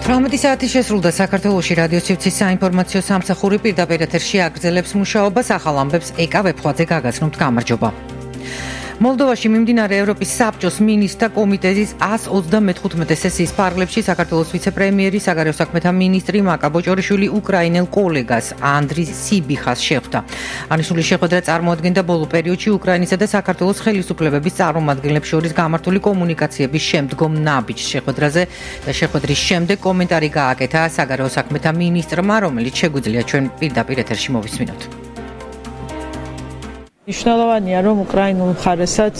18 საათი შესრულდა საქართველოში რადიო სივრცის საინფორმაციო სამსახური პირდაპირ ეთერში აგრძელებს მუშაობას ახალ ამბებს ეკა ვებხვაძე გაგაცნობთ გამარჯობა. მოლდოვაში მიმდინარე ევროპის საბჭოს მინისტრთა კომიტეტის 135 სესიის ფარგლებში საქართველოს ვიცე-პრემიერი საგარეო საქმეთა მინისტრი მაკა ბოჭორიშვილი უკრაინელ კოლეგას ანდრი სიბიხას შეხვდა. აღნიშნული შეხვედრა წარმოადგენდა ბოლო პერიოდში უკრაინისა და საქართველოს ხელისუფლებების წარმომადგენლებს შორის გამართული კომუნიკაციების შემდგომ ნაბიჯ შეხვედრაზე და შეხვედრის შემდეგ კომენტარი გააკეთა საგარეო საქმეთა მინისტრმა, რომელიც შეგვიძლია ჩვენ პირდაპირ ეთერში მოვისმინოთ. მნიშვნელოვანია, რომ უკრაინულ მხარესაც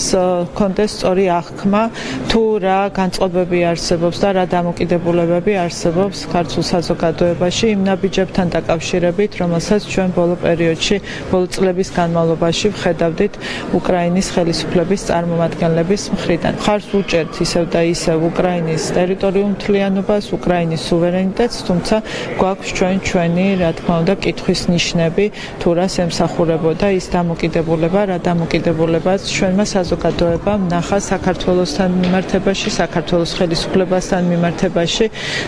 კონდეს სწორი აღქმა, თუ რა განწყობები არსებობს და რა დამოკიდებულებები არსებობს ქართულ საზოგადოებაში იმ ნაბიჯებთან დაკავშირებით, რომელსაც ჩვენ ბოლო პერიოდში, ბოლო წლების განმავლობაში ვხედავდით უკრაინის ხელისუფლების წარმომადგენლების მხრიდან. მხარს უჭერთ ისევ და ისევ უკრაინის ტერიტორიულ მთლიანობას, უკრაინის სუვერენიტეტს, თუმცა გვაქვს ჩვენი, რა თქმა უნდა, კითხვის ნიშნები, თუ რას ემსახურებოდა ის დამოკიდებულება რა დამოკიდებულებაც ჩვენმა საზოგადოებამ ნახა საქართველოსთან მიმართებაში, საქართველოს ხელისუფლებასთან მიმართებაში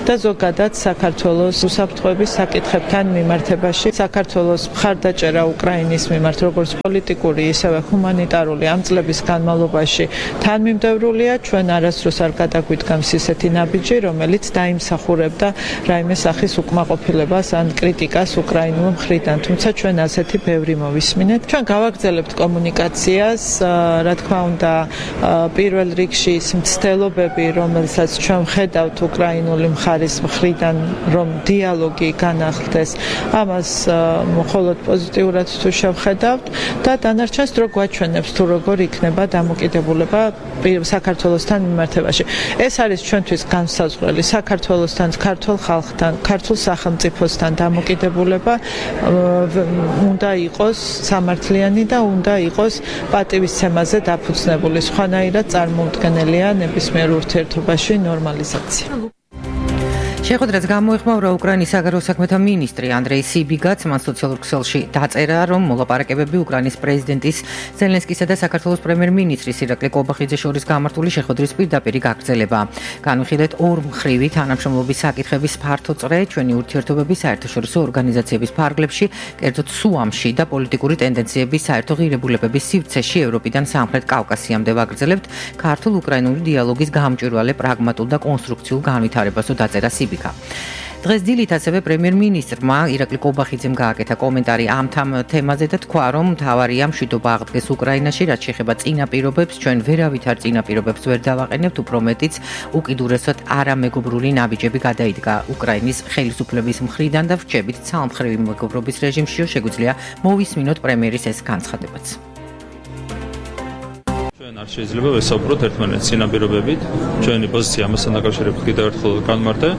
და ზოგადად საქართველოს უსაფრთხოების საკითხებთან მიმართებაში. საქართველოს მხარდაჭერა უკრაინის მიმართ როგორც პოლიტიკური, ისევე ჰუმანიტარული ამ წლების განმავლობაში თანმიმდევრულია. ჩვენ არასდროს არ გადაგვიდგამს ისეთი ნაბიჯი, რომელიც დაიმსახურებდა რაიმე სახის უკმაყოფილებას ან კრიტიკას უკრაინულ მხრიდან. თუმცა ჩვენ ასეთი ბევრი მოვისმინეთ. ჩვენ გავაგრძელებთ კომუნიკაციას, რა თქმა უნდა, პირველ რიგში ის მცდელობები, რომელსაც ჩვენ ვხედავთ უკრაინული მხარის მხრიდან, რომ დიალოგი განახლდეს, ამას მხოლოდ პოზიტიურად თუ შევხედავთ და დანარჩენს დრო გვაჩვენებს თუ როგორ იქნება დამოკიდებულება საქართველოსთან მიმართებაში. ეს არის ჩვენთვის განსაზღვრელი საქართველოსთან, ქართულ ხალხთან, ქართულ სახელმწიფოსთან დამოკიდებულება უნდა იყოს სამართლიანი და უნდა იყოს პატივისცემაზე დაფუძნებული. სხვანაირად წარმოუდგენელია ნებისმიერ ურთიერთობაში ნორმალიზაცია. შეხვედრას გამოეხმაურა უკრაინის საგარეო საქმეთა მინისტრი ანდრეი სიბიგაც. მან სოციალურ ქსელში დაწერა, რომ მოლაპარაკებები უკრაინის პრეზიდენტის ზელენსკისა და საქართველოს პრემიერ-მინისტრის ირაკლი კობახიძეს შორის გამართული შეხვედრის პირდაპირ გაგრძელება. განვიხილეთ ორმხრივი თანამშრომლობის საკითხების ფართო წრე ჩვენი ურთიერთობების საერთაშორისო ორგანიზაციების ფარგლებში, კერძოდ სუამში და პოლიტიკური ტენდენციების საერთო ღირებულებების სივრცეში ევროპიდან სამხრეთ კავკასიამდე ვაგრძელებთ ქართულ-უკრაინული დიალოგის გამჭვირვალე პრაგმატულ და კონსტრუქციულ განვითარებასო დაწერა სიბიგა. დღეს დილით ასევე პრემიერ-მინისტრმა ირაკლი კობახიძემ გააკეთა კომენტარი ამ თემაზე და თქვა, რომ მთავარია მშვიდობა აღდგეს უკრაინაში, რაც შეეხება წინაპირობებს, ჩვენ ვერავითარ წინაპირობებს ვერ დავაყენებთ, უფრო მეტიც უკიდურესად არამეგობრული ნაბიჯები გადაიდგა უკრაინის ხელისუფლების მხრიდან და ვრჩებით ცალმხრივი მეგობრობის რეჟიმშიო შეგვიძლია მოვისმინოთ პრემიერის ეს განცხადებაც. არ შეიძლება ვესაუბროთ ერთმანეთს წინაპირობებით. ჩვენი პოზიცია ამასთან დაკავშირებით კიდევ ერთხელ განმარტე.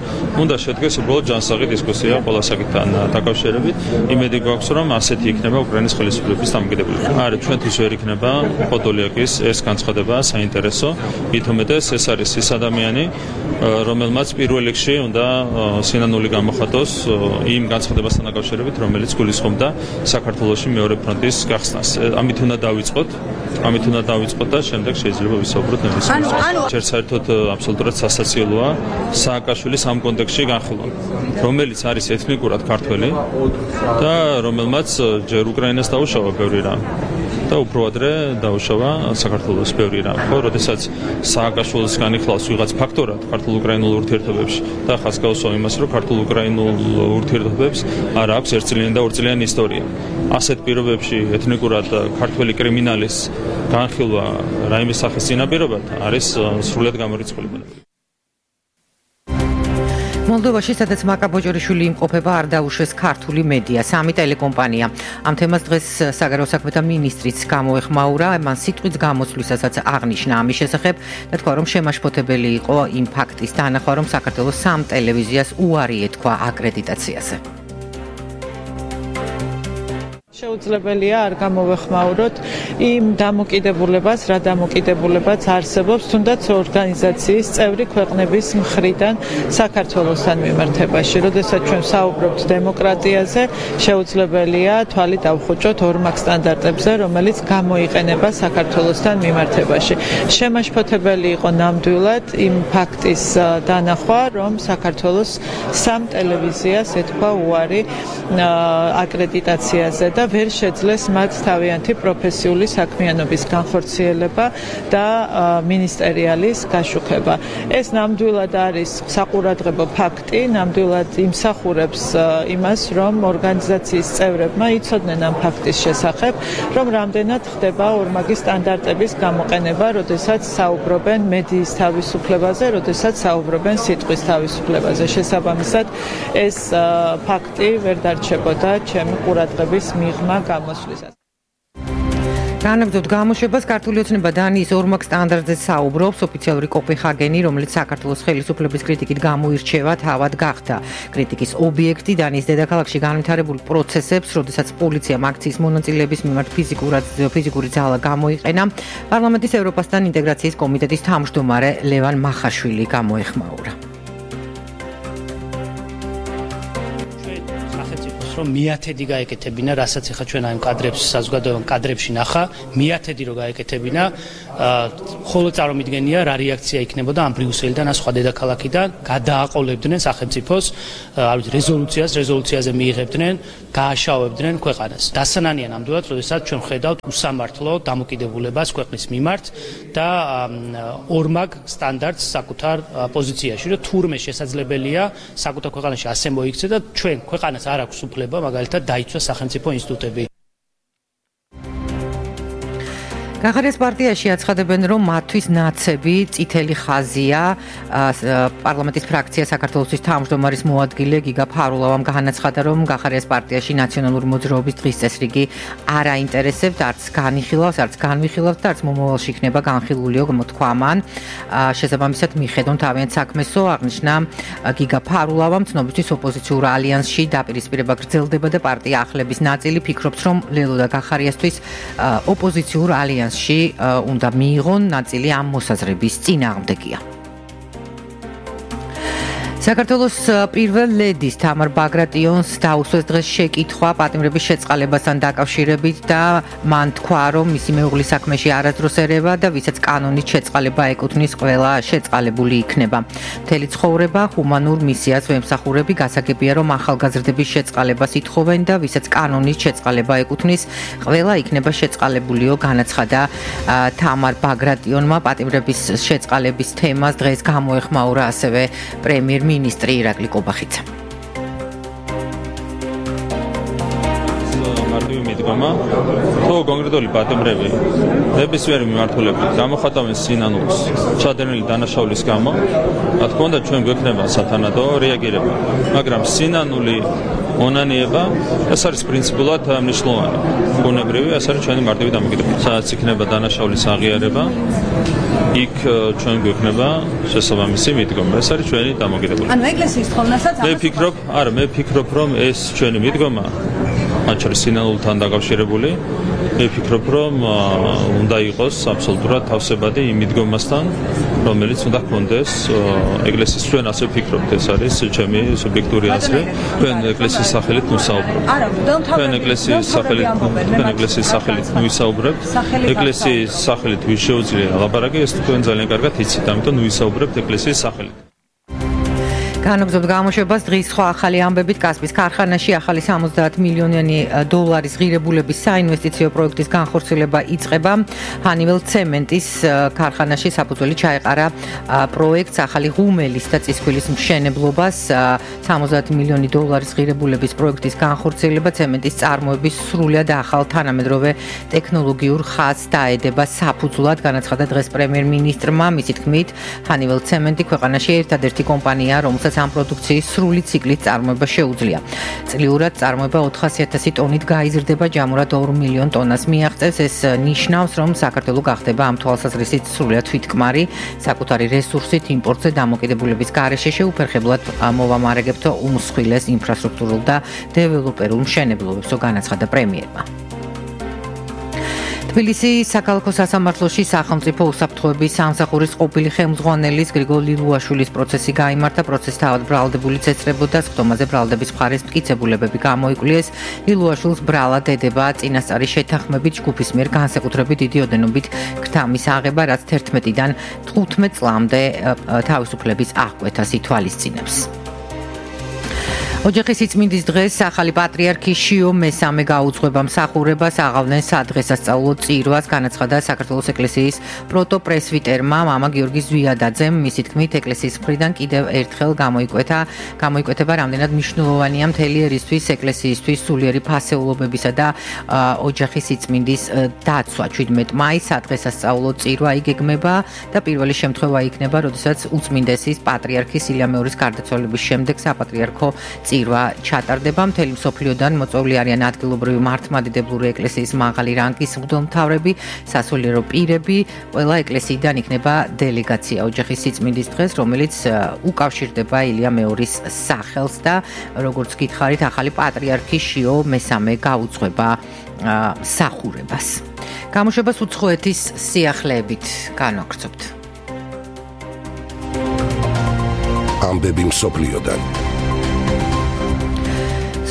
უნდა შედგეს უბრალოდ ჯანსაღი დისკუსია ყველა საკითხთან დაკავშირებით. იმედი გვაქვს, რომ ასეთი იქნება უკრაინის ხელისუფლების დამოკიდებულება. არა, ჩვენთვის ვერ იქნება პოდოლიაკის ეს განცხადება საინტერესო. მით უმეტეს ეს არის ის ადამიანი, რომელმაც პირველ რიგში უნდა სინანული გამოხატოს იმ განცხადებასთან დაკავშირებით, რომელიც გულისხმობდა საქართველოში მეორე ფრონტის გახსნას. ამით უნდა დავიწყოთ და შემდეგ შეიძლება ვისაუბროთ ნებისმიერ. ჯერ საერთოდ აბსოლუტურად სასაცილოა სააკაშვილის ამ კონტექსტში განხილვა, რომელიც არის ეთნიკურად ქართველი და რომელმაც ჯერ უკრაინას დაუშავა ბევრი რამ და უფრო ადრე დაუშავა საქართველოს ბევრი რამ. ხო, როდესაც სააკაშვილის განიხილავს ვიღაც ფაქტორად ქართულ-უკრაინულ ურთიერთობებში და ხას გავსვა იმას, რომ ქართულ-უკრაინულ ურთიერთობებს არ აქვს ერთწლიანი და ორწლიანი ისტორია. ასეთ პირობებში ეთნიკურად ქართველი კრიმინალის განხილვა რაიმე სახის წინაპირობად არის სრულად გამორიცხული. მოლდოვაში, სადაც მაკა ბოჭორიშვილი იმყოფება, არ დაუშვეს ქართული მედია, სამი ტელეკომპანია. ამ თემას დღეს საგარეო საქმეთა მინისტრიც გამოეხმაურა, მან სიტყვის გამოსვლისასაც აღნიშნა ამის შესახებ და თქვა, რომ შემაშფოთებელი იყო იმ ფაქტის თანახმა, რომ საქართველოს სამ ტელევიზიას უარი ეთქვა აკრედიტაციაზე. შეუძლებელია არ გამოვეხმაუროთ იმ დამოკიდებულებას, რა დამოკიდებულებაც არსებობს თუნდაც ორგანიზაციის წევრი ქვეყნების მხრიდან საქართველოსთან მიმართებაში. როდესაც ჩვენ საუბრობთ დემოკრატიაზე, შეუძლებელია თვალი დავხუჭოთ ორმაგ სტანდარტებზე, რომელიც გამოიყენება საქართველოსთან მიმართებაში. შემაშფოთებელი იყო ნამდვილად იმ ფაქტის დანახვა, რომ საქართველოს სამ ტელევიზიას ეთქვა უარი აკრედიტაციაზე და ვერ შეძლეს მათ თავიანთი პროფესიული საქმიანობის განხორციელება და მინისტერიალის გაშუქება. ეს ნამდვილად არის საყურადღებო ფაქტი, ნამდვილად იმსახურებს იმას, რომ ორგანიზაციის წევრებმა იცოდნენ ამ ფაქტის შესახებ, რომ რამდენად ხდება ორმაგი სტანდარტების გამოყენება, როდესაც საუბრობენ მედიის თავისუფლებაზე, როდესაც საუბრობენ სიტყვის თავისუფლებაზე. შესაბამისად, ეს ფაქტი ვერ დარჩებოდა ჩემი ყურადღების მიღმა გამოსვლისას. განაგრძობთ გამოშვებას ქართული ოცნება დანიის ორმაგ სტანდარტზე საუბრობს ოფიციალური კოპენჰაგენი, რომელიც საქართველოს ხელისუფლების κρიტიკით გამოირჩევა, თავად გახდა კრიტიკის ობიექტი დანიის დედაქალაქში განვითარებულ პროცესებს, როდესაც პოლიციამ აქციის მონაწილეების მიმართ ფიზიკური ძალა გამოიყენა. პარლამენტის ევროპასთან ინტეგრაციის კომიტეტის თავმჯდომარე ლევან მახაშვილი გამოეხმაურა. რომ მიათედი გაეკეთებინა, რასაც ახლა ჩვენ აი კადრებს საზოგადოებრივ კადრებში ნახა, მიათედი რო გაეკეთებინა, ხოლო წარმომიდგენია რა რეაქცია იქნებოდა ამ ბრიუსელიდან, ან სხვა დედაქალაქიდან, გადააყოლებდნენ სახელმწიფოს, რეზოლუციაზე მიიღებდნენ, გააშავებდნენ ქვეყანას. დასანანია ნამდვილად, როდესაც ჩვენ ხედავთ უსამართლო დამოკიდებულებას ქვეყნის მიმართ და ორმაგ სტანდარტს საკუთარ პოზიციაში, რომ თურმე შესაძლებელია საკუთარ ქვეყანაში ასე მოიქცე და ჩვენ ქვეყანას არ აქვს უფლება მაგალითად დაიცვა სახელმწიფო ინსტიტუტები. გახარიას პარტიაში აცხადებენ, რომ მათთვის ნაცები წითელი ხაზია. პარლამენტის ფრაქცია საქართველოს თავმჯდომარის მოადგილე გიგა ფარულავამ განაცხადა, რომ გახარიას პარტიაში ნაციონალური მოძრაობის დღის წესრიგი არ აინტერესებთ, არც განიხილავს, არც განვიხილავთ და არც მომავალში იქნება განხილულიო მოთქვა მან. შესაბამისად მიხედონ თავიანთ საქმესო, აღნიშნა გიგა ფარულავამ, ცნობისთვის ოპოზიციურ ალიანსში დაპირისპირება გრძელდება და პარტია ახლების ნაწილი ფიქრობს, რომ ლელო და გახარიასთვის ოპოზიციურ ალიანსში უნდა მიიღონ ნაწილი ამ მოსაზრების წინააღმდეგია. საქართველოს პირველ ლედის თამარ ბაგრატიონს დაუსვეს დღეს შეკითხვა პატიმრების შეწყალებასთან დაკავშირებით და მან თქვა, რომ მისი მეუღლის საქმეში არასდროს ერევა და ვისაც კანონით შეწყალება ეკუთვნის, ყველა შეწყალებული იქნება. მთელი ცხოვრება ჰუმანურ მისიას ვემსახურები, გასაგებია, რომ ახალგაზრდების შეწყალებას ითხოვენ და ვისაც კანონით შეწყალება ეკუთვნის, ყველა იქნება შეწყალებულიო, განაცხადა თამარ ბაგრატიონმა. პატიმრების შეწყალების თემას დღეს გამოეხმაურა ასევე პრემიერ-მინისტრი ირაკლი კობახიძე. მარტივი მიდგომა, თუ კონკრეტული პატიმრები ნებისმიერი მიმართულებით გამოხატავენ სინანულს ჩადენილი დანაშაულის გამო, რა თქმა უნდა ჩვენ გვექნება სათანადო რეაგირება, მაგრამ სინანული მონანიება ეს არის პრინციპულად მნიშვნელოვანი. ბუნებრივი, ეს არის ჩვენი მარტივი დამოკიდებულება. სადაც იქნება დანაშაულის აღიარება, იქ ჩვენ გვექნება შესაბამისი მიდგომა. ეს არის ჩვენი დამოკიდებულება. ანუ ეკლესიის თხოვნასაც მე ვფიქრობ, რომ ეს ჩვენი მიდგომა მათ შორის სინანულთან დაკავშირებული, მე ვფიქრობ, რომ უნდა იყოს აბსოლუტურად თავსებადი იმ მიდგომასთან, რომელიც უნდა ჰქონდეს ეკლესიის. ჩვენ ასე ვფიქრობთ, ეს არის ჩემი სუბიექტური აზრი. ჩვენ ეკლესიის სახელით ვისაუბრებთ. ჩვენ ეკლესიის სახელით ვისაუბრებთ. ეკლესიის სახელით ვის შეუძლია ლაპარაკი, ეს თქვენ ძალიან კარგად იცით, ამიტომ ვისაუბრებთ ეკლესიის სახელით. განაგრძობთ გამოშვებას დღის სხვა ახალი ამბებით. კასპის ქარხანაში ახალი 70 მილიონიანი დოლარის ღირებულების საინვესტიციო პროექტის განხორციელება იწყება. ჰანიվել ცემენტის ქარხანაში საფუძველი ჩაეყარა პროექტს ახალი ღუმელის და წისქვილის მშენებლობას. 70 მილიონი დოლარის ღირებულების პროექტის განხორციელება ცემენტის წარმოების სრულად ახალ თანამედროვე ტექნოლოგიურ ხაზს დაედება საფუძვლად, განაცხადა დღეს პრემიერ-მინისტრმა. მისი თქმით, ჰანიվել ცემენტი ქვეყანაში ერთადერთი კომპანია, რომელსაც ამ პროდუქციის სრული ციკლით წარმოება შეუძლია. წლიურად წარმოება 400,000 ტონით გაიზრდება, ჯამურად 2 მილიონ ტონას მიაღწევს. ეს ნიშნავს, რომ საქართველო გახდება ამ თვალსაზრისით სრულად თვითკმარი, საკუთარი რესურსით იმპორტზე დამოკიდებულების გარეშე შეუფერხებლად მოვამარაგებთ უმსხვილეს ინფრასტრუქტურულ და დეველოპერულ მშენებლობებს, განაცხადა პრემიერმა. თბილისის საქალაქო სასამართლოში სახელმწიფო უსაფრთხოების სამსახურის ყოფილი ხელმძღვანელის გრიგოლ ლილუაშვილის პროცესი გაიმართა. პროცესი თავად ბრალდებული წესრებოდა, სხდომაზე ბრალდების მხარეს მტკიცებულებები გამოიკვლიეს. ლილუაშვილს ბრალად ედება წინასწარი შეთანხმებით ჯგუფის მიერ განსაკუთრებით დიდი ოდენობით ქრთამის აღება, რაც 11-დან 15 წლამდე თავისუფლების აღკვეთას ითვალისწინებს. ოჯახის სიწმინდის დღეს ახალი პატრიარქი შიო მესამე გაუძღვება მსახურებას, აღავდნენ სადღესასწაულო წირვას, განაცხადა საქართველოს ეკლესიის პროტოპრესვიტერმა მამა გიორგი ზვიადაძემ. მისი თქმით, ეკლესიის მხრიდან კიდევ ერთხელ გამოიკვეთება რამდენად მნიშვნელოვანია მთელი ერისთვის, ეკლესიისთვის სულიერი ფასეულობებისა და ოჯახის სიწმინდის დაცვა. 17 მაისს სადღესასწაულო წირვა იგეგმება და პირველი შემთხვევა იქნება, როდესაც უწმინდესის პატრიარქის ილია მეორის გარდაცვალების შემდეგ საპატრიარქო წირვა ჩატარდება. მთელი მსოფლიოდან მოწვეული არიან ადგილობრივი მართლმადიდებლური ეკლესიის მაღალი რანგის მღვდელმთავრები, სასულიერო პირები. ყველა ეკლესიიდან იქნება დელეგაცია ოჯახის სიწმინდის დღეს, რომელიც უკავშირდება ილია მეორის სახელს და როგორც გითხარით, ახალი პატრიარქი შიო მესამე გაუძღვება მსახურებას. გამოშვებას უცხოეთის სიახლეებით განვაგრძობთ. ამბები მსოფლიოდან.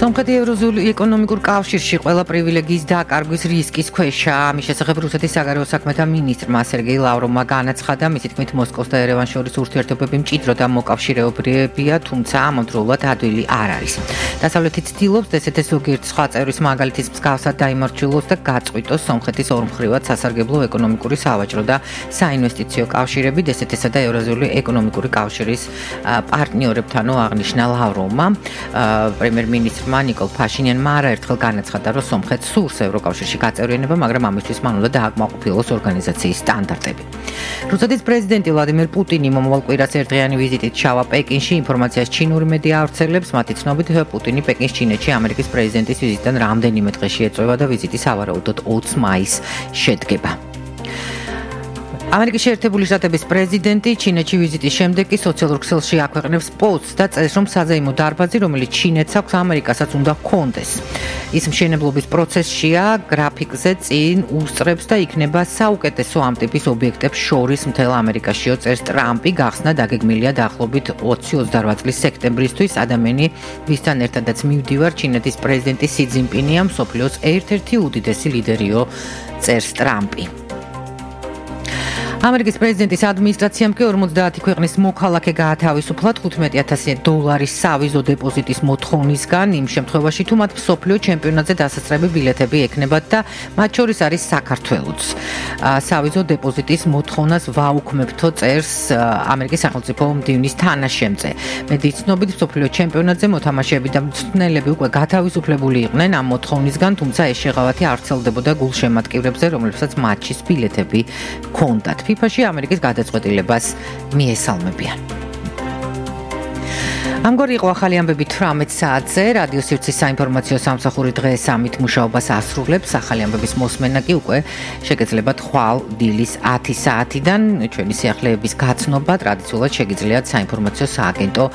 სომხეთი ევროზონულ ეკონომიკურ კავშირში ყველა პრივილეგიის დაკარგვის რისკის ქვეშაა. ამის შესახებ რუსეთის საგარეო საქმეთა მინისტრმა სერგეი ლავროვმა განაცხადა, მისი თქმით მოსკოვს და ერევანს შორის ურთიერთობები მჭიდრო და მოკავშირეობრივია, თუმცა ამავდროულად ადვილი არ არის. დასავლეთი ცდილობს დსთ-ს ზოგიერთ სხვა წევრის მაგალითის მსგავსად დაიმორჩილოს და გაწყვიტოს სომხეთის ორმხრივად სასარგებლო ეკონომიკური, სავაჭრო და საინვესტიციო კავშირები დსთ-სა და ევრაზიული ეკონომიკური კავშირის პარტნიორებთანო აღნიშნა ლავროვმა. პრემიერ-მინისტრმა ნიკოლ ფაშინიანმა არაერთხელ განაცხადა, რომ სომხეთს სურს ევროკავშირში გაწევრიანება, მაგრამ ამისთვის მან უნდა დააკმაყოფილოს ორგანიზაციის სტანდარტები. რუსეთის პრეზიდენტი ვლადიმერ პუტინი მომავალ კვირას ერთდღიანი ვიზიტით ჩავა პეკინში. ინფორმაციას ჩინური მედია ავრცელებს. მათი ცნობით, პუტინი პეკინს ჩინეთში ამერიკის პრეზიდენტის ვიზიტიდან რამდენიმე დღეში ეწევა და ვიზიტი სავარაუდოდ 20 მაისს შედგება. ამერიკის შეერთებული შტატების პრეზიდენტი ჩინეთში ვიზიტის შემდეგ კი სოციალურ ქსელში აქვეყნებს პოსტს და წერს, რომ საზეიმო დარბაზი, რომელიც ჩინეთს აქვს, ამერიკასაც უნდა ჰქონდეს. ის მშენებლობის პროცესშია, გრაფიკზე წინ უსწრებს და იქნება საუკეთესო ამ ტიპის ობიექტებს შორის მთელ ამერიკაშიო, წერს ტრამპი. გახსნა დაგეგმილია დაახლოებით 2028 წლის სექტემბრისთვის. ადამიანი, ვისთან ერთადაც მივდივარ, ჩინეთის პრეზიდენტი სი ძინპინია, მსოფლიოს ერთ-ერთი უდიდესი ლიდერიო, წერს ტრამპი. ამერიკის პრეზიდენტის ადმინისტრაციამ კი 50 ქვეყნის მოქალაქე გაათავისუფლა $15,000 სავიზო დეპოზიტის მოთხოვნისგან, იმ შემთხვევაში თუ მათ მსოფლიო ჩემპიონატზე დასასწრები ბილეთები ექნებათ და მათ შორის არის საქართველოც. სავიზო დეპოზიტის მოთხოვნას ვაუქმებთო, წერს ამერიკის სახელმწიფო მდივნის თანაშემწე. მედიის ცნობით მსოფლიო ჩემპიონატზე მოთამაშეები და მწვრთნელები უკვე გათავისუფლებული იყვნენ ამ მოთხოვნისგან, თუმცა ეს შეღავათი არ ვრცელდებოდა გულშემატკივრებზე, რომლებსაც მატჩის ბილეთები ჰქონდათ. FIFA-ში ამერიკის გადაწყვეტილებას მიესალმებიან. ამგვარი იყო ახალი ამბები 18 საათზე. რადიო სივრცის საინფორმაციო სამსახური დღეს ამით მუშაობას ასრულებს. ახალი ამბების მოსმენა კი უკვე შეგეძლებათ ხვალ დილის 10 საათიდან. ჩვენი სიახლეების გაცნობა ტრადიციულად შეგიძლიათ საინფორმაციო სააგენტო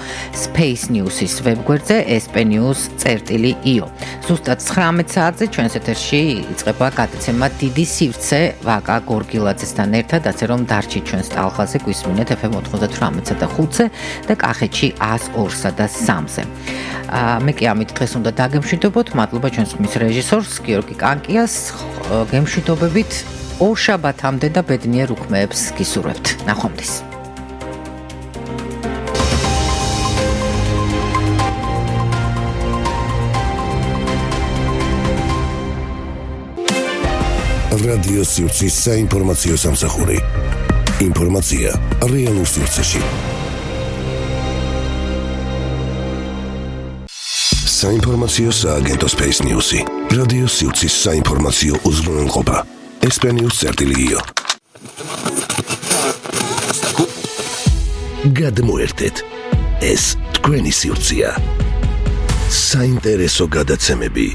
Space News-ის ვებგვერდზე spnews.io. ზუსტად 19 საათზე ჩვენს ეთერში იწყება გადაცემა დიდი სივრცე ვაკა გორგილაძესთან ერთად, ასე რომ დარჩით ჩვენს ტალღაზე, გვისმინეთ FM 98-ზე და 5-ზე და კახეთში 102-სა და 3-ზე. მე კი ამით დღეს უნდა დაგემშვიდობოთ. მადლობა ჩვენს ხმის რეჟისორს გიორგი კანკიას. გემშვიდობებით ორ შაბათამდე და ბედნიერ უქმეებს გისურვებთ. ნახვამდის. რადიო სივრცის საინფორმაციო სამსახური. ინფორმაცია რეალურ სივრცეში. საინფორმაციო სააგენტო Space News-ი. რადიო სივრცის საინფორმაციო უზრუნველყოფა. spnews.io. გადმოერთეთ. ეს თქვენი სივრცეა. საინტერესო გადაცემები.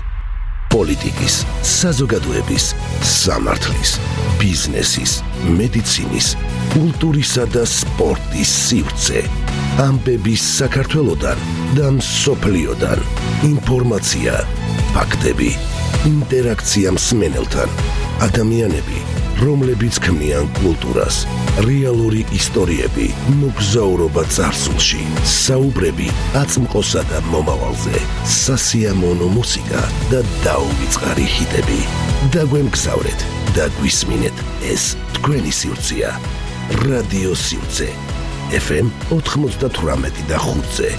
პოლიტიკის, საზოგადოების, სამართლის, ბიზნესის, მედიცინის, კულტურისა და სპორტის სივრცე. ამბები საქართველოდან და მსოფლიოდან. ინფორმაცია, ფაქტები, ინტერაქცია მსმენელთან, ადამიანები, რომლებიც ქმნიან კულტურას, რეალური ისტორიები, მოგზაურობა წარსულში, საუბრები აწმყოსა და მომავალზე, სასიამოვნო მუსიკა და დაუვიწყარი ჰიტები. დაგვემგზავრეთ და გვისმინეთ ეს თქვენი სივრცეა. რადიო სივრცე FM 98.5-ზე.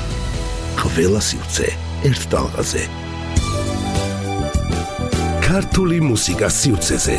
ყველა სივრცე ერთ ტალღაზე. ქართული მუსიკა სივრცეზე.